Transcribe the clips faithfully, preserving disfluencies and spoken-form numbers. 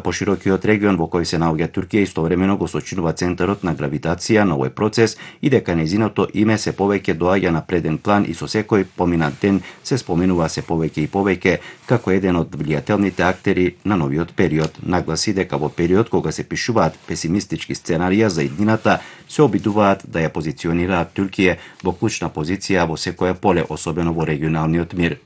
поширокиот регион во кој се наоѓа Туркија истовремено го сочинува центарот на гравитација на овој процес и дека нејзиното име се повеќе доаѓа на преден план и со секој поминат ден се споменува се повеќе и повеќе како еден од влијателните актери на новиот период. Нагласи дека во период кога се пишуваат песимистички сценарија за иднината, се обидуваат да ја позиционираат Туркија во клучна позиција во секое поле, особено во регионалниот мир.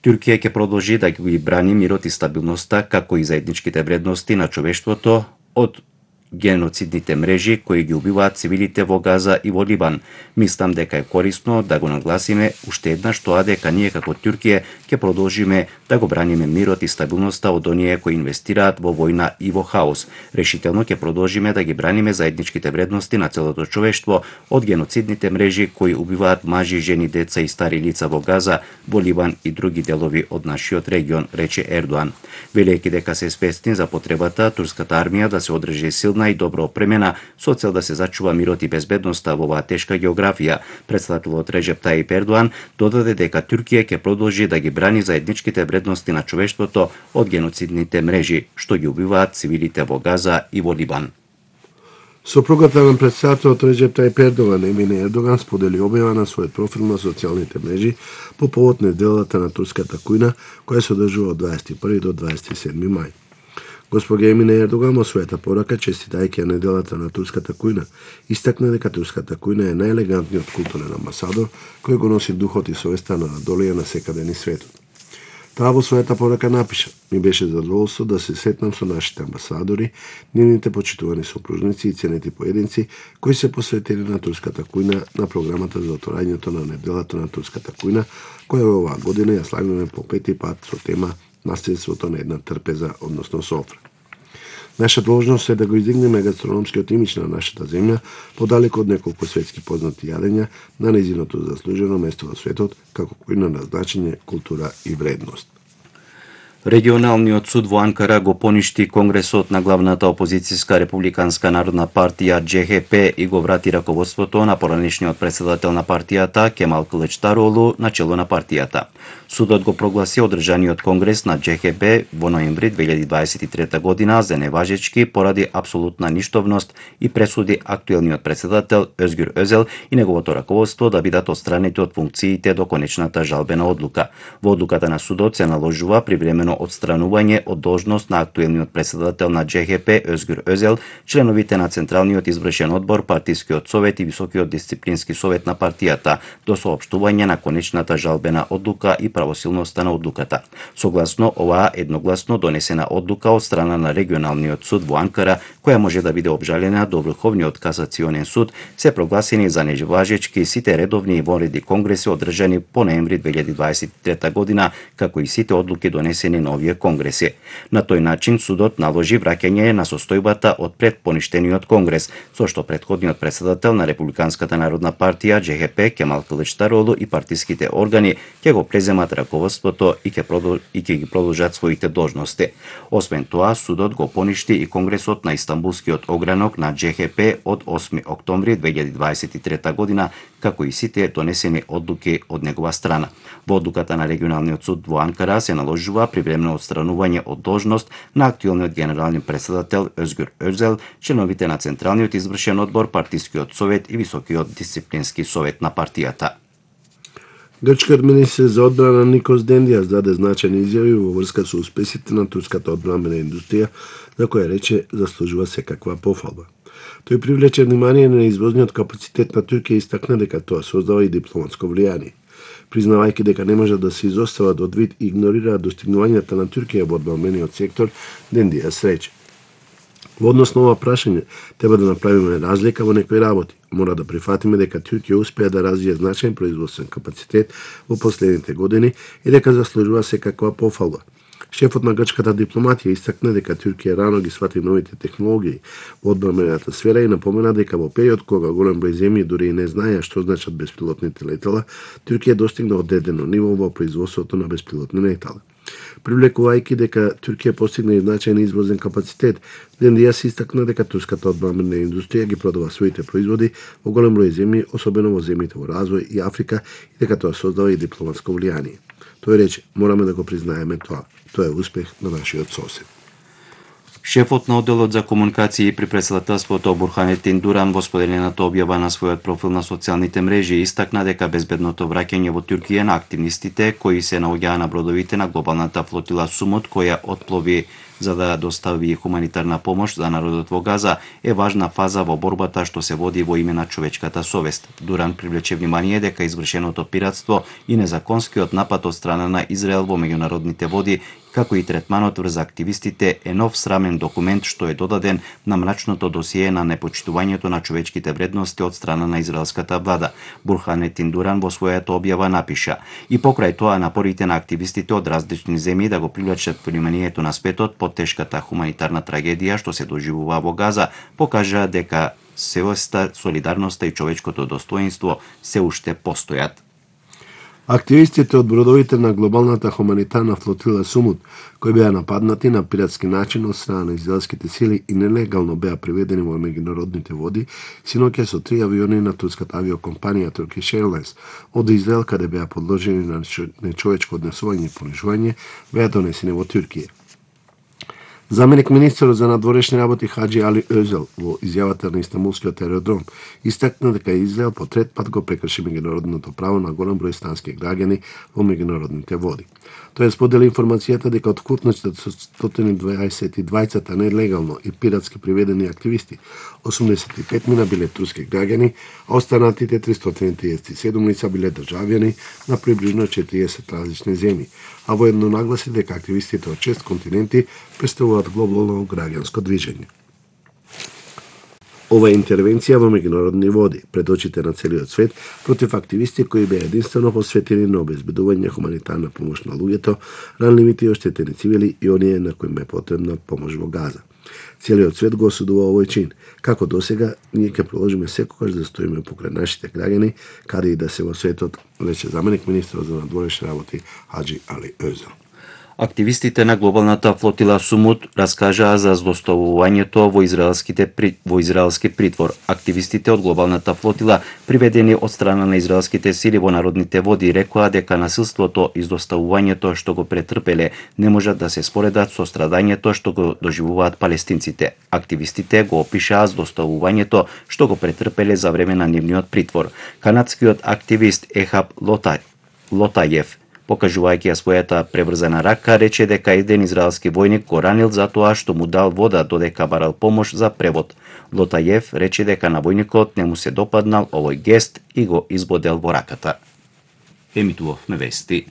Туркија ќе продолжи да ги брани мирот и стабилноста, како и заедничките вредности на човештвото од геноцидните мрежи кои ги убиваат цивилите во Газа и во Либан. Мислам дека е корисно да го нагласиме уште еднаш тоа дека ние како Туркија ќе продолжиме да го браниме мирот и стабилноста од оние кои инвестираат во војна и во хаос. Решително ќе продолжиме да ги браниме заедничките вредности на целото човештво од геноцидните мрежи кои убиваат мажи, жени, деца и стари лица во Газа, во Либан и други делови од нашиот регион, рече Ердоан. Велејќи дека се свесни за потребата турската армија да се одржи силна и добро опремена со цел да се зачува мирот и безбедноста во оваа тешка географија, претставителот Реджеп Тајип Ердоан додаде дека Туркија ќе продолжи да ги брани заедничките вредности на човештвото од геноцидните мрежи што ги убиваат цивилите во Газа и во Либан. Сопругата на претставителот Реджеп Тајип Ердоган, Емине Ердоган, сподели објава на својот профил на социјалните мрежи по повод неделата на турската кујна, која се одржува од дваесет и први до дваесет и седми мај. Госпожа Емине Ердоган во својата порака, честитајќи ја неделата на турската кујна, истакна дека турската кујна е најелегантниот културен амбасадор кој го носи духот и совеста на Анадолија на секаде низ светот. Таа во својата порака напиша: ми беше задоволство да се сретнам со нашите амбасадори, нивните почитувани сопружници и ценети поединци кои се посветени на турската кујна на програмата за отворањето на неделата на турската кујна, која оваа година ја славиме по пети пат со тема наследството на една трпеза, односно софра. Наша должност е да го издигнеме гастрономскиот имидж на нашата земја, подалеку од неколку светски познати јадења на нејзиното заслужено место во светот, како кујна на значење, култура и вредност. Регионалниот суд во Анкара го поништи Конгресот на главната опозицијска републиканска народна партија Дже Хе Пе и го врати раководството на поранешниот председател на партијата Кемал Кылычдароглу на чело на партијата. Судот го прогласи одржаниот конгрес на Дже Хе Пе во ноември две илјади дваесет и трета година за неважечки поради апсолутна ништовност и пресуди актуелниот председател Өзгюр Өзел и неговото раководство да бидат отстранети од функциите до конечната жалбена одлука. Во одлуката на судот се наложува привремено отстранување од должност на актуелниот председател на Дже Хе Пе Өзгюр Өзел, членовите на Централниот извршен одбор, Партискиот совет и Високиот дисциплински совет на партијата до соопштување на конечната жалбена одлука и правосилноста на одлуката. Согласно оваа едногласно донесена одлука од страна на регионалниот суд во Анкара, која може да биде обжалена до Врховниот касационен суд, се прогласени за неважечки сите редовни и вонредни конгреси одржани по ноември две илјади дваесет и трета година, како и сите одлуки донесени на овие конгреси. На тој начин судот наложи враќање на состојбата од пред поништениот конгрес, со што претходниот председател на Републиканската народна партија Дже Хе Пе Кемал Кылычдароглу и партиските органи ќе го преземат раководството и ќе продол... и ќе ги продолжат своите должности. Освен тоа, судот го поништи и конгресот на Истанбулскиот огранок на Дже Хе Пе од осми октомври две илјади дваесет и трета година, како и сите донесени одлуки од негова страна. Во одлуката на регионалниот суд во Анкара се наложува привремено отстранување од должност на актуелниот генерален председател Өзгюр Өзел, членовите на Централниот извршен одбор, Партискиот совет и Високиот дисциплински совет на партијата. Грчкиот министер за одбрана Никос Дендијас даде значајни изјави во врска со успесите на турската одбранбена индустрија, за која рече заслужува секаква пофалба. Тој привлече внимание на извозниот капацитет на Туркија и истакна дека тоа создава и дипломатско влијание. Признавајќи дека не можат да се изостават од вид и игнорираат достигнувањата на Туркија во одбранбениот сектор, Дендијас рече: во однос на ова прашање, треба да направиме разлика во некои работи. Мора да прифатиме дека Туркија успеа да развие значаен производствен капацитет во последните години и дека заслужува секаква пофалба. Шефот на грчката дипломатија истакна дека Туркија рано ги свати новите технологии во одбранбената сфера и напомена дека во период кога голем број земји дури и не знаеа што значат беспилотните летала, Туркија достигна одредено ниво во производството на беспилотни летала. Привлекувајќи дека Туркија постигна и значајен извозен капацитет, Дендијас истакна дека турската одбранбена индустрија ги продава своите производи во голем број земји, особено во земјите во развој и Африка, и дека тоа создава и дипломатско влијание. Тој рече: мораме да го признаеме тоа. Тоа е успех на нашиот сосед. Шефот на одделот за комуникации при претседателството Бурханетин Дуран во споделената објава на својот профил на социјалните мрежи истакна дека безбедното враќање во Туркија на активистите кои се наоѓаа на бродовите на глобалната флотила Сумут која отплови за да достави хуманитарна помош за народот во Газа е важна фаза во борбата што се води во име на човечката совест. Дуран привлече внимание дека извршеното пиратство и незаконскиот напад од страна на Израел во меѓународните води како и третманот врз активистите е нов срамен документ што е додаден на мрачното досие на непочитувањето на човечките вредности од страна на израелската влада. Бурханетин Дуран во својата објава напиша: и покрај тоа напорите на активистите од различни земји да го привлечат вниманието на светот по тешката хуманитарна трагедија што се доживува во Газа, покажа дека севоста, солидарноста и човечкото достоинство се уште постојат. Активистите од бродовите на глобалната хуманитарна флотила Сумут, кои беа нападнати на пиратски начин од страна на израелските сили и нелегално беа приведени во меѓународните води, синоќа со три авиони на турската авиокомпанија Turkish Airlines од Израел, каде беа подложени на нечовечко однесување и понижување, беа донесени во Туркија. Заменик министерот за надворешни работи Хаджи Али Өзел во изјавата на Истанбулскиот аеродром истакна дека Израел по трет пат го прекрши меѓународното право на голем број стански граѓани во меѓународните води. Тој сподели информацијата дека од вкупно четиристотини дваесет и двајца нелегално и пиратски приведени активисти, осумдесет и пет мина биле турски граѓани, а останатите тристоти триесет и седум лица биле државјани на приближно четириесет различни земји, а воедно нагласи дека активистите од шест континенти представуваат глобално граѓанско движење. Ова е интервенција во меѓународни води, пред очите на целиот свет, против активисти кои беа единствено посветени на обезбедување хуманитарна помош на луѓето, ранливите и оштетени цивили и оние на кои е потребна помош во Газа. Целиот свет го осудува овој чин. Како досега, ние ќе продолжиме секогаш да стоиме покрај нашите граѓани, каде и да се во светот, рече заменик министерот за надворешни работи Хаджи Али Өзел. Активистите на глобалната флотила Сумут раскажаа за злоставувањето во израелските во израелски притвор. Активистите од глобалната флотила, приведени од страна на израелските сили во народните води, рекоа дека насилството и злоставувањето што го претрпеле не можат да се споредат со страдањето што го доживуваат палестинците. Активистите го опишаа злоставувањето што го претрпеле за време на нивниот притвор. Канадскиот активист Ехаб Лотай Лотајев, покажувајќи ја својата преврзана рака, рече дека еден израелски војник го ранил за тоа што му дал вода додека барал помош за превод. Лотајев рече дека на војникот не му се допаднал овој гест и го избодел во раката. Емитувавме вести.